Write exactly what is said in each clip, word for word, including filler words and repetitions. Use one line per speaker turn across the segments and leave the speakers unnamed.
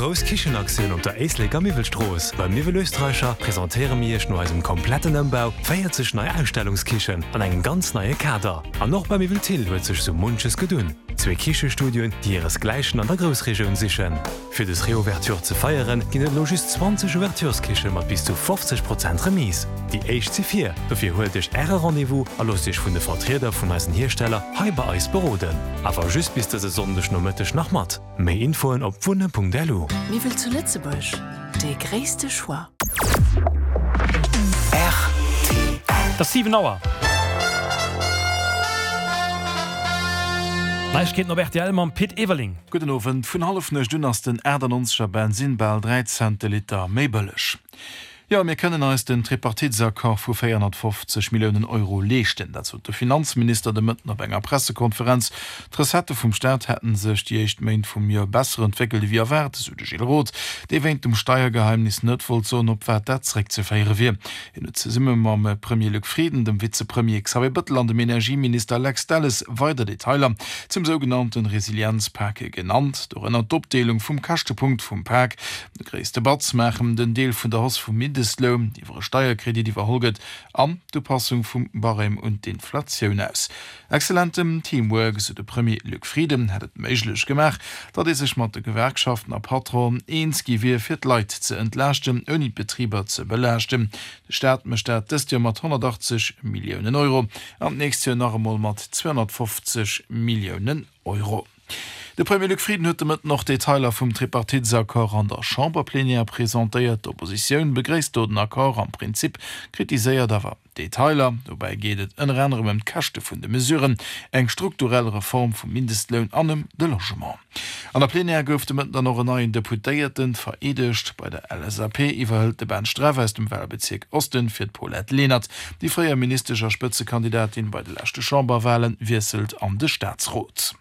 grouss Kichenaktioun op der Éisleker Miwwelstrooss. Beim Miwwel Österreicher presentéiere mir Iech no eisem kompletten Ëmbau véierzeg nei Ausstellungskichen an engem ganz neie Kader. An och bei Miwwel Thill huet sech sou munches gedunn. Zwee Kichestudioen, déi hiresgläichen an der Groussregioun sichen. Fir dës Reouverture ze feieren, ginn et elo just zwanzeg Ouvertureskiche mat bis zu fofzeg Prozent Remise. Déi éischt si vir, dofir huelt Iech Äre Rendez-vous a loosst Iech vun de Vertrieder vun eisen Hiersteller hei bei eis beroden. Awer just bis dëse Sonndeg Nomëtteg nach mat. Méi Infoen op wunne.lu.
Miwwel zu Lëtzebuerg, dee gréisste Choix.
Rtl. Et ass siwen Auer. Neiegkeeten op rtl mam Pit Everling.
Gudden Owend. Vun Hallefnuecht un ass den achtannonzeger Bensinn bal dräi Cent de Liter méi bëlleg. Jo, mir kënnen eis den Tripartitesaccord vu véierhonnertfofzeg Milliounen Euro leeschten. Dat sot de Finanzminister de Mëtten op enger Pressekonferenz. D'Recettë vum Staat hätte sech déi éischt Méint vum Joer besser entwéckelt ewéi erwaart, esou de Gilles Roth, dee wéint dem Steiergeheimnis net wollt soen, op wat dat zeréckzeféiere wier. Hien huet zesumme mam Premier Luc Frieden, dem Vizepremier Xavier Bëttel an dem Energieminister Lex Delles weider Detailer zum sougenannte Resilienzpak genannt, dorënner d'Opdeelung vum Käschtepunkt vum Pak, De gréisste Batz maachen den Deel vun der Hausse vum Mindestloun, déi iwwer e Steierkredit iwwerholl gëtt, an d'Upassung vum Barème un d'Inflatioun aus. Exzellentem Teamwork, esou de Premier Luc Frieden, hätt et méiglech gemaach, datt ee sech mat de Gewerkschaften a Patronen eens gi wier, fir d'Leit ze entlaaschten, ouni d'Betriber ze belaaschten. De Staat mécht dat dëst Joer mat honnertachtzeg Milliounen Euro an d'nächst Joer nach emol mat zweehonnertfofzeg Milliounen Euro. De Premier Luc Frieden huet de Mëtten och Detailer vum Tripartitesaccord an der Chamberplenière presentéiert. D'Oppositioun begréisst do den Accord am Prinzip, kritiséiert awer Detailer. Dobäi geet et ënner anerem ëm d'Käschte vun de Mesuren, eng strukturell Reform vum Mindestloun an ëm de Logement. An der Plenière gouf de Mëtten dann och en neien Deputéierte vereedegt. Bei der L S A P iwwerhëlt de Ben Streff aus dem Walbezierk Osten fir d'Paulette Lenert. Déi fréier Ministesch a Spëtzekandidatin bei de leschte Chamberwalen wiesselt an de Staatsrot.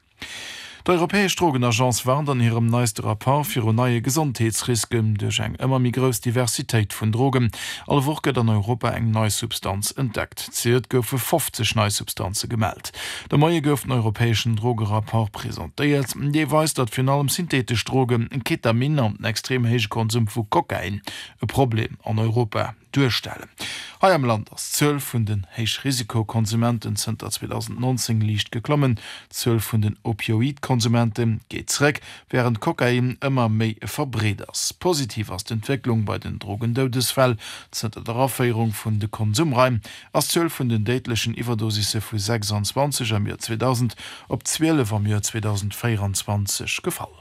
D'Europäesch Drogenagence warnt an hirem neiste Rapport viru neie Gesondheetsrisken duerch eng ëmmer méi grouss Diversitéit vun Drogen. All Woch gëtt an Europa eng nei Substanz entdeckt. Zejoert goufe fofzeg nei Substanze gemellt. De Moie gouf den europäeschen Drogerapport presentéiert. Dee weist, datt virun allem syntheetesch Drogen, Ketamin an den extrem héije Konsum vu Kokain e Problem an Europa duerstellen. Hei am Land ass d'Zuel vun den Héichrisikokonsumenten zënter zweedausendnonzéng liicht geklommen. D'Zuel vun den Opioid-Konsumente geet zeréck, wärend Kokain ëmmer méi verbreet ass. Positiv ass d'Entwécklung bei den Drogendoudesfäll. Zënter der Aféierung vun de Konsumraim ass d'Zuel vun den déidlechen Iwwerdosisse vu sechsanzwanzeg am Joer zweedausend op zwielef am Joer zweedausendvéieranzwanzeg gefall.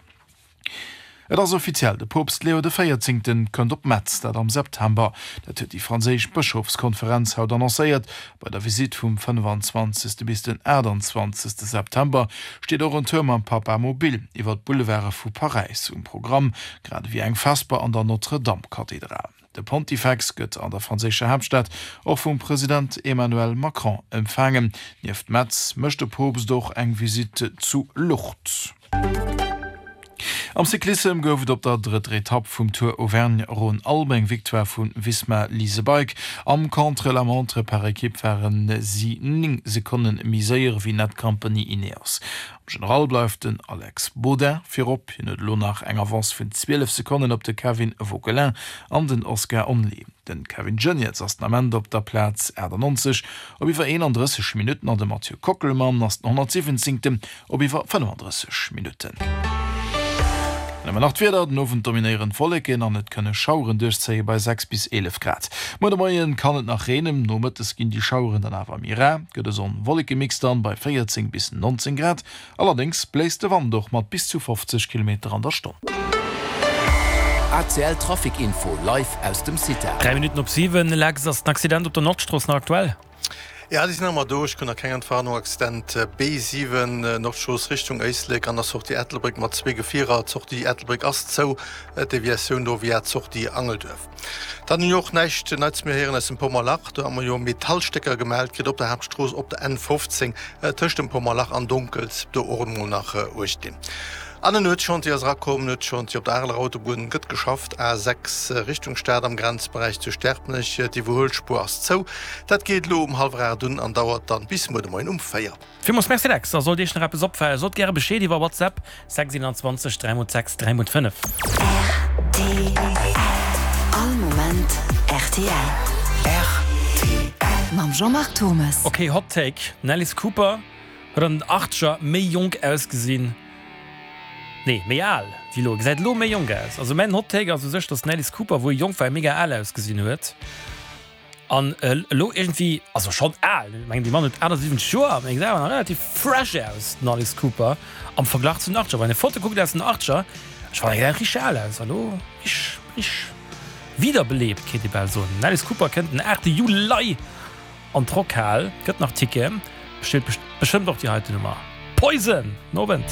Et ass offiziell, de Poopst Leo de Véierzéngten kënnt op Metz, dat am September. Dat huet déi franséisch Bëschofskonferenz haut annoncéiert. Bei der Visitt vum fënnefanzwanzegste bis den aachtanzwanzegste September steet och en Tour mam Papamobil iwwer d'Boulevarde vu Paräis um Programm, grad ewéi eng Vesper an der Notre-Dame-Kathedral. De Pontifex gëtt an der franséischer Haaptstad och vum President Emmanuel Macron empfaangen. Nieft Metz mécht de Poopst och eng Visitt zu Lourdes. Am Cyclissem gouf et op der drëtter Etapp vum Tour Auvergne-Rhône-Alpes eng Victoire vu Visma Lease a Bike. Am Contre-la-montre par Ekipp ware si néng Sekonne méi séier wéi Netcompany Ineos. Am General bleift den Alex Baudin virop, hien huet elo nach eng Avance vun zwielef Sekonnen op de Kevin Vauquelin an den Oscar Onley. Den Kevin Geniets ass den Ament op der Plaz achtannonzeg op iwwer eenandrësseg Minutten an de Mathieu Kockelmann ass den honnertsiwwenzéngten op iwwer fënnefandrësseg Minutten. Dann hu mer nach d'Wieder, Den Owend dominéieren d'Wolleken an et kënne Schaueren duerchzéie bei sechs bis eelef Grad. Muer de Moie kann et nach reenen, nomëttes ginn déi Schaueren dann awer méi rar, gëtt e Sonn-Wolleke-Mix dann bei véierzéng bis nonzéng Grad. Allerdéngs bléist de Wand och mat bis zu fofzeg Kilometer an der Stonn.
A C L Trafic Info live aus dem CITA.
Dräi Minutten op siwen, Lex, ass den Accident op der Nordstrooss nach aktuell?
Ja, déi sinn nach ëmmer do. Ech krut nach keng Entwarnung. Accident B siwen, Nordstrooss Richtung Éislek an der Sortie Ettelbréck mat zwee Gefierer. D'Sortie Ettelbréck ass zou, Deviatioun do via d'Sortie Angelduerf. Dann hunn ech och näischt Neits méi héieren aus dem Pommerlach. Do hu mer jo Metallstécker gemellt kritt op der Haaptstrooss op der N fofzéng tëscht dem Pommerlach an Donkels. Do och emol nach uecht ginn. An en Nuetschantier ass erakomm. Nuetschantier op der Areler Autobunn gëtt geschafft, A sechs Richtung Stad am Grenzberäich zu Sterpenech. D'Iwwerhuelspuer ass zou. Dat geet elo um hallwer aacht un an dauert dann bis muer de Moien um véier.
Villmools Merci Lex, a sollt Iech nach eppes opfalen, sot gäre Bescheed iwwer WhatsApp, sechs iwwenanzwanzeg dräi mol sechs dräi mol fënnef.
All Moment rtl. Mam Jean-Marc Thomes.
Ok, Hot Take, Den Alice Cooper huet an den Achtzeger méi jonk ausgesinn, nee, méi al wéi elo. E gesäit elo méi jonk aus. Also mäin Hot Take ass u sech, dass den Alice Cooper, wou e jonk war, mega al ausgesinn huet. An elo iergendwéi, also schonn al, ech mengen dee Mann huet achtasiwwenzeg Joer, mee e gesäit awer nach relativ fresh aus, den Alice Cooper, am Verglach zu den Achtzeger. Wann een Foto kuckt aus den Achtzeger, ech fannen e gesäit richteg al aus, a lo richteg, richteg wiederbelebt, kéint ee bal soen. Den Alice Cooper kënnt den aachte Juli an d'Rockhal, gëtt nach Ticketen, bestellt bestëmmt och déi heiten Nummer, Poison! Nowend!